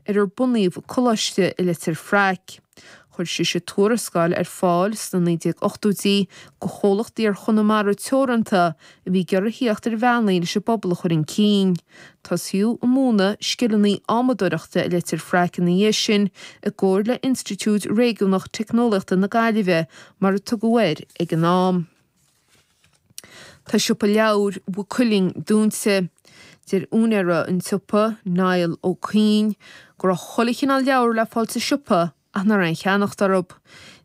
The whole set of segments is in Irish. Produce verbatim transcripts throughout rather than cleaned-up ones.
ar ar bunaíodh coláiste i Leitir Fraic. Chuir sise tuarascáil ar fáil sna naoi déag ochtóidí do chomhlacht Iar-Chonamara Teoranta a bhí ag iarraidh theacht ar bhealaí leis an bpobal a chur chun cinn. Tosaíodh ag múineadh scileanna adhmadóireachta i Leitir Fraic ina dhiaidh sin i gcomhar le Institiúid Réigiúnach Teicneolaíochta na Gaillimhe mar a tugadh air ag an am. Tá siopa leabhar Mhaigh Cuilinn dúnta. Deir úinéir an tsiopa, Niall Ó Cuinn, go raibh chuile chineál leabhar le fáil sa siopa ach nach raibh aon cheannacht orthu.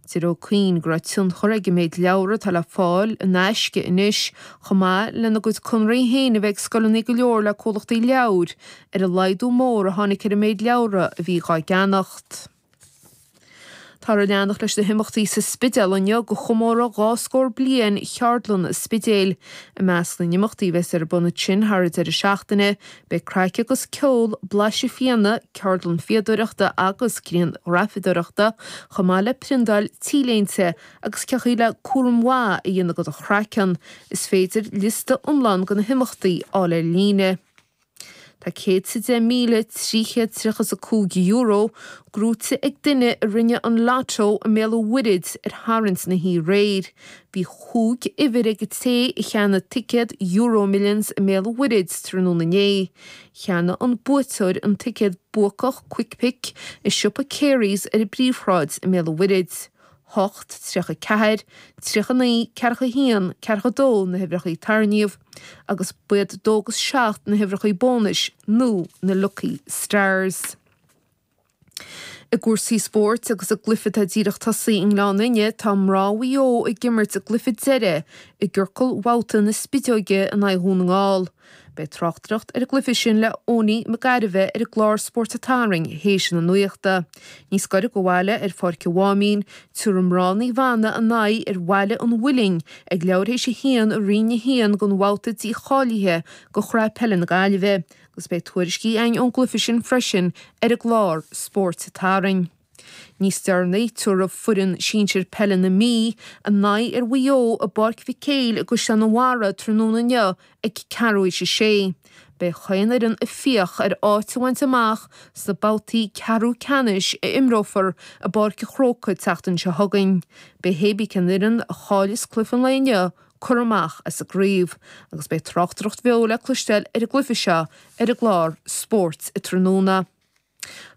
Deir Ó Cuinn go raibh tionchar ag an méid leabhar atá le fáil in aisce anois, chomh maith lena gcuid conraí féin a bheith ag scoileanna go leor le comhlachtaí leabhar, ar an laghdú mór a tháinig ar an méid leabhra a bhí dhá gceannacht. Táthar ag leanacht leis na himeachtaí sa Spidéal inniu do chomóradh dhá scór bliain Cheardlann an Spidéil. I measc na n-imeachtaí a bheas ar bun ansin thar an deireadh seachtaine, beidh craic agus ceol, blaiseadh fíona, ceardlann fíodóireachta agus grianghrafadóireachta, chomh maith le priondáil T-léinte agus cén chaoi le cúram mhaith a dhéanamh do do chraiceann. Is féidir liosta iomlán de na himeachtaí a fháil ar líne. Tá céad is a deich míle trí chéad tríocha is a cúig euro gnóite ag duine a rinne an Lotto i mBéal an Mhuirthead ar tharraingt na hoíche aréir. Bhí chúig uimhir ag an té a cheannaigh ticéad EuroMillions i mBéal an Mhuirthead tráthnóna inné. Cheannaigh an buaiteoir an ticéad buacach Quick Pick i siopa Carey's ar an bPríomhshráid i mBéal an Mhuirthead. hocht, tríocha ceathair, tríocha naoi, ceathracha haon, ceathracha dó na huimhreacha a tarraingíodh agus b'iad dó agus seacht na huimhreacha bónais nó na Lucky Stars. I gcúrsaí spóirt agus i gcluiche atá díreach tosaithe i nGleann Fhinne, tá mná Mhaigh Eo ag imirt a gcluiche deiridh i gciorcal bhabhta na Spideoige in aghaidh Dhún na nGall. Beidh tráchtaireacht ar an gcluiche sin le Owenie Mac Gairbheith ar an gclár Spórt an Tarraing théis na nuachta. Níos gaire do bhaile ar Pháirc an Mháimín, tabharfaidh mná Naomh Anna a n-aghaidh ar Bhaile an Mhuilinn ag leathuair théis a haon i Roinn a haon den bhabhta dícháilithe do Chraobh Peile na Gaillimhe agus beidh tuairiscí againn ón gcluiche sin freisin ar an gclár Spórt an Tarraing. Níos deireanaí, tabharfaidh foireann sinsir peile na Mí a n-aghaidh ar Mhaigh Eo i bPáirc Mhic Éil i gCaisleán an Bharraigh tráthnóna inniu ag ceathrú théis a sé. Beidh chaon fhoireann ag fiach ar áit a bhaint amach sna babhtaí ceathrú ceannais a imreofar i bPáirc an Chrócaigh an tseachtain seo chugainn. Beidh hé bí cén fhoireann a chaillfeas cluiche an lae inniu curtha amach as an gcraobh agus beidh tráchtaireacht bheo le cloisteáil ar an gcluiche seo ar an gclár Spóirt Tráthnóna.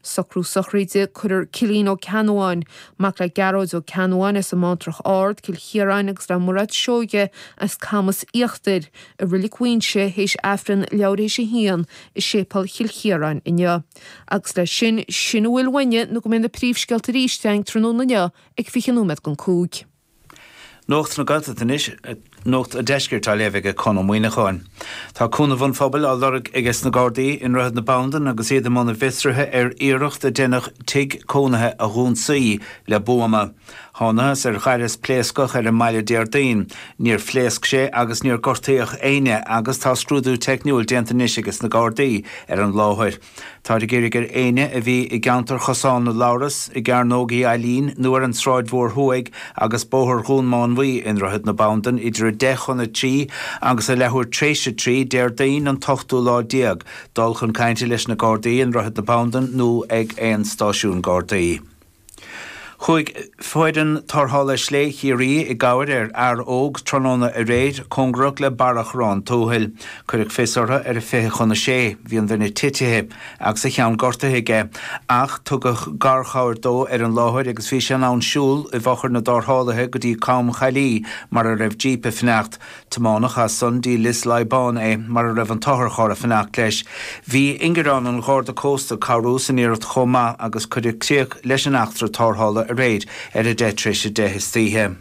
Socrú sochraide Cuirfear Cillian Ó Ceannabháin, mac le Gearóid Ó Ceannabháin as an mBantrach Ard, Cill Chiaráin agus le Mairéad Seoige as Camas Íochtair, i Reilig Mhuighinse théis Aifreann leathuair théis a haon i Séipéal Chill Chiaráin inniu. Agus leis sin, sin a bhfuil uainne nó go mbeidh na príomhscéalta arís againn tráthnóna inniu ag fiche nóiméad don cúig. Nuacht na Gaeltachta anois, Nuacht an Deiscirt á léamh ag Conn Ó Muíneacháin. Tá cúnamh an phobail á lorg aige sna Gardaí i nDroichead na Bandan agus iad i mbun a bhfiosraithe ar iarracht a deineadh tigh cónaithe a dh'ionsaí le buama. Thánathas ar ghaireas pléascach ar an mbaile Déardaoin. Níor phléasc sé agus níor gortaíodh éinne agus tá scrúdú teicniúil déanta anois aige sna Gardaí ar an láthair. Táthar ag iarraidh ar éinne a bhí i gceantar Chosán na Labhras, i gCearnóg Uí Ailín nó ar an tSráid Mhór Thuaidh agus Bóthar Dhún Mánmhaí i nDroichead na Bandan idir a deich chun a trí agus a leathuair tréis a trí Déardaoin an t-ochtú lá déag dul chun cainte leis na Gardaí i nDroichead na Bandan nó ag aon stáisiún Gardaí. Chuaigh foireann tarrthála Slé Chiarraí i gcabhair ar fhear óg tráthnóna aréir, cóngarach le Barra Chorrán Tuathail. Cuireadh fios orthu ar a fiche chun a sé. Bhí an duine titithe agus a cheann gortaithe aige, ach tugadh garchabhair dó ar an láthair agus bhí sé in ann siúl i bhfochair na dtarrthálaithe go dtí Com Chaillí mar a raibh jíp ag fanacht. Tiomáineadh as san dtí Lios Laighbáin é, mar a raibh an t-otharcharr ag fanacht leis. Bhí ingearán an Gharda Cósta ag cabhrú san iarracht chomh maith agus cuireadh críoch leis an eachtra tarrthála aréir ar a deich tar éis a deich istoíche.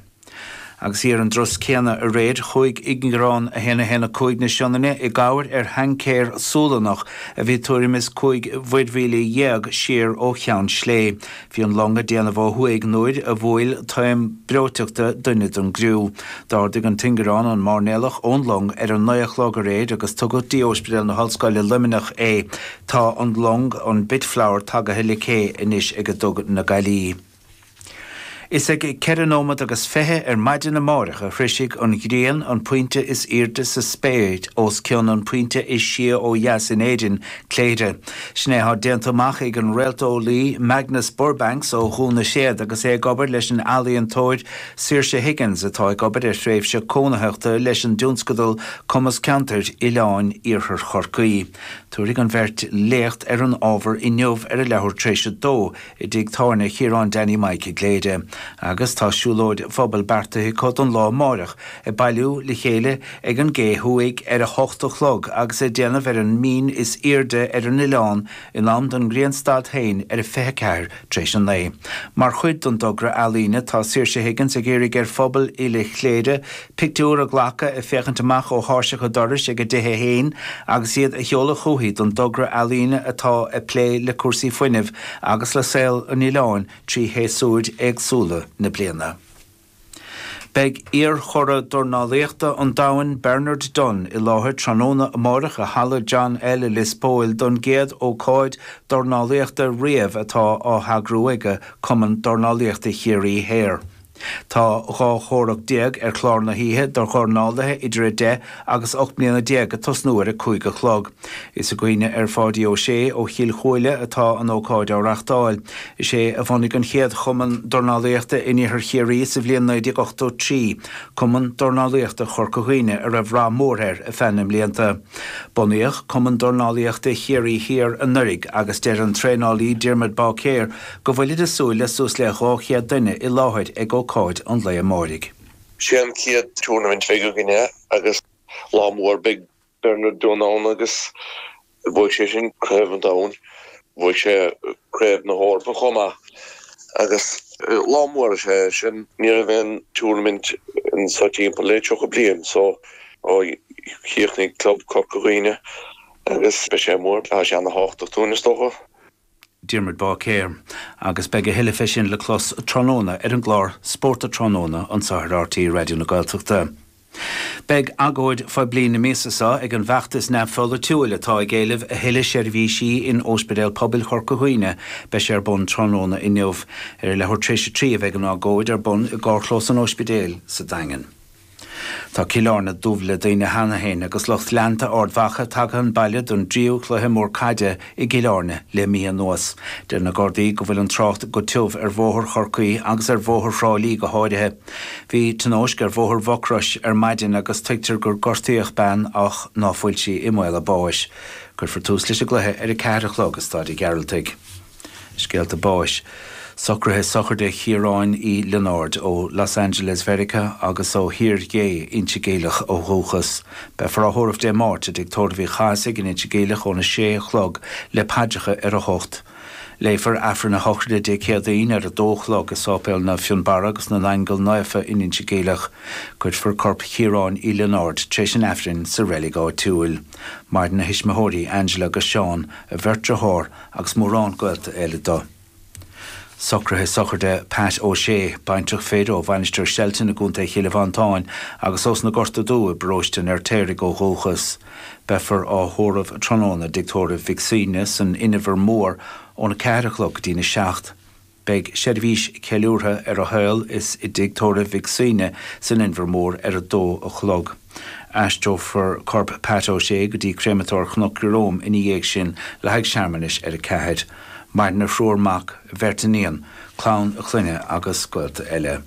Agus thiar an dturas céanna aréir, chuaigh ingearán a haon a haon a cúig na Sionainne i gcabhair ar thaincéir Sualannach a bhí tuairim is cúig mhuirmhíle dhéag siar ó Cheann Slé. Bhí an long ag déanamh ó thuaidh nuair a bhuail taom breoiteachta duine den gcriú. D'ardaigh an t-ingearán an mairnéalach ón long ar a naoi a chlog aréir agus tugadh dtí Ospidéal na hOllscoile Luimneach é. Tá an long, an Bitflower, tagaithe le cé anois ag Duga na Gaillí. Is ag ceithre nóiméad agus fiche ar maidin amárach a shroisfidh an ghrian an pointe is airde sa spéir os cionn an pointe is sia ó dheas in Éirinn, Cléire. Sin é atá déanta amach ag an réalteolaí Magnus Burbanks ó Dhún na Séad agus é ag obair leis an ealaíontóir Saoirse Higgins atá ag obair ar thréimhse cónaitheachta leis an dtionscadal Cumas Ceantair Oileáin Iarthar Chorcaí. Tabharfaidh an bheirt léacht ar an ábhar inniu ar a leathuair tar éis a dó i dtigh tábhairne Chiaráin Danny Mike i gCléire. Agus tá siúlóid phobail beartaithe acu don lá amárach, ag bailiú le chéile ag an gCé Thuaidh ar a hocht a chlog agus ag déanamh ar an mbinn is airde ar an oileán in am don ghrianstad féin ar a fiche ceathair tar éis a naoi. Mar chuid den dtogra ealaíne tá Saoirse Higgins ag iarraidh ar phobal uile Chléire pictiúr a ghlacadh ag féachaint amach ó thairseach a dorais ag a dtithe féin agus iad a sheoladh chuici don dtogra ealaíne atá ag plé le cúrsaí fuinnimh agus le saol an oileáin trí shéasúir éagsúla na bliana. Beidh iar-churadh dornálaíochta an domhain Bernard Dunne i láthair tráthnóna amárach i Halla John L i Lios Póil don gcéad ócáid dornálaíochta riamh atá á heagrú aige Cumann Dornálaíochta Chiarraí Thoir. Tá dhá chomhrac déag ar chlár na hoíche do dhornálaithe idir a deich agus ocht mbliana déag ag tosnú ar a cúig a chlog. Is i gcuimhne ar Pháidí Ó Sé ó Chill Chuaille atá an ócáid á reáchtáil. Is é a bhunaigh an chéad chumann dornálaíochta in iarthar Chiarraí sa bhliain naoi déag ochtó trí, Cumann Dornálaíochta Chorca Dhuibhne a raibh rath mór air ar feadh na mblianta. Bunaíodh Cumann Dornálaíochta Chiarraí Thiar anuraidh agus deir an traenálaí Diarmuid Báicéir go bhfuilid ag súil le suas le dhá chéad duine i láthair ag ócáid an lae amáirigh. Sé an chéad tournament bheidh againne agus lá mór beidh Bernard Dunne ann agus bhuaigh sé sin craobh an domhain, bhuaigh sé craobh na hEorpa chomh maith agus lá mór is ea é sin. Ní raibh aon tournament anso timpeall le tríocha bliain so ó chríochnaigh Club Corca Dhuibhne agus beidh sé mór, tá sé ana-thábhachtach dúinn is dócha. Diarmuid Báicéir, agus beidh a thuilleadh fé sin le clos tráthnóna ar an gclár Spórt Tráthnóna anseo ar RTÉ Raidió na Gaeltachta. Beidh agóid phoiblí na míosa seo ag an bhfeachtas neamhpholaitiúil atá ag éileamh a thuilleadh seirbhísí in Ospidéal Pobail Chorca Dhuibhne. Beidh sé ar bun tráthnóna inniu. Ar a leathuair tar éis a trí a bheidh an agóid ar bun i gcarrchlós an ospidéil sa Daingean. Tá Cill Airne dubh le daoine cheana féin agus lucht leanta Ard Mhacha tagtha chun baile don dtríú cluiche mór caide i gCill Airne le mí anuas. Deir na Gardaí go bhfuil an trácht go tiubh ar Bhóthar Chorcaí agus ar Bhóthar Thrá Lí go háirithe. Bhí tionóisc ar Bhóthar Mhucrois ar maidin agus tuigtear gur gortaíodh bean ach ná fuil sí i mbaol a báis. Cuirfear tús leis an gcluiche ar a ceathair a chlog i Staid an Ghearaltaigh. Scéalta báis. Socruithe sochraide Chiaráin Uí Lionáird ó Los Angeles Mheiriceá agus ó Thír Gé, Inse Geimhleach ó dhúchas. Beifear á thórramh Dé Máirt i dtigh tórraimh Uí Chathasaigh in Inse Geimhleach óna sé a chlog le paidreacha ar a hocht. Léifear Aifreann a shochraide Dé Céadaoin ar a dó a chlog i Sáipéal Naomh Fionnbarra agus na nAingeal Naofa in Inse Geimhleach. Cuirfear corp Chiaráin Uí Lionáird tar éis an Aifrinn sa reilig áitiúil. Maireann a thuismitheoirí Angela agus Seán, a bheirt dearthár agus mórán gaolta eile dó. Socruithe sochraide Pat O'Shea, baintreach fir ó Mhainistir Shelton i gContae Chill Mhantáin agus ós na Gorta Dubh i bparóiste an Fheirtéaraigh ó dhúchas. Beifear á thórramh tráthnóna i dtigh tórraimh Mhic Suibhne san Inbhear Mór óna ceathair a chlog go dtína seacht. Beidh seirbhís ceiliúrtha ar a shaol is i dtigh tórraimh Mhic Suibhne san Inbhear Mór ar a dó a chlog. Aistreofar corp Pat O'Shea go dtí Créamatóir Chnoc Ieróm ina dhiaidh sin le haghaidh searmanais ar a ceathair. Maireann a thriúr mac, a bheirt iníon, clann a clainne agus gaolta eile.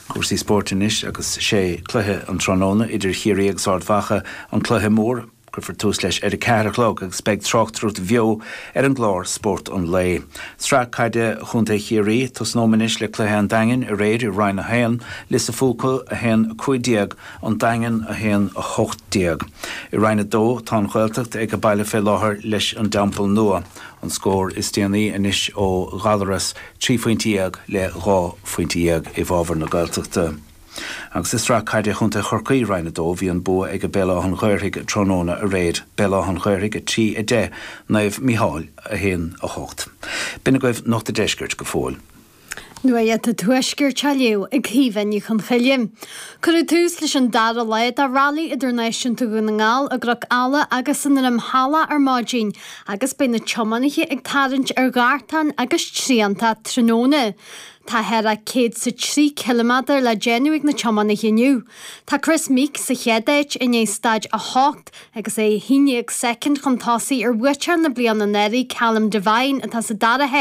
Cúrsaí spóirt anois agus sé cluiche an tráthnóna idir Chiarraí agus Ard Mhacha an cluiche mór. Cuirfear tús leis ar a ceathair a chlog agus beidh tráchtaireacht bheo ar an gclár Spórt an Lae. Sraith Caide Chontae Chiarraí, Tosnóidh anois le cluiche an Daingin aréir i Roinn a haon, Lios a' Phúca a haon a cúig déag, An Daingean a haon a hocht déag. I Roinn a dó tá an Ghaeltacht ag baile fé láthair leis an dTeampall Nua. An scór is déanaí anois ó Ghallaras, trí phointe dhéag le dhá phointe dhéag i bhfabhar na Gaeltachta. Agus i Sraith Caide Chontae Chorcaí, Roinn a dó, bhí an bua ag Béal Átha an Ghaorthaidh tráthnóna aréir, Béal Átha an Ghaorthaidh a trí, a deich, Naomh Mícheál a haon, a hocht. B'in agaibh Nuacht an Deiscirt go fóill. Nuacht an Tuaiscirt á léamh ag Caoimhe Ní Chonchoille. Cuireadh tús leis an dara lá de Railí Idirnáisiúnta Dhún na nGall i gCnoc Alla agus i nDroim Shalach ar maidin, agus beidh na tiománaithe ag tarraingt ar ghartáin agus trianta tráthnóna. Tá thar a céad is a trí ciliméadar le déanamh ag na tiománaithe inniu. Tá Kris Meeke sa chéad áit i ndiaidh staid a hocht agus é haon déag soicind chun tosaigh ar bhuaiteoir na bliana anuraidh Callum Devine atá sa dara háit.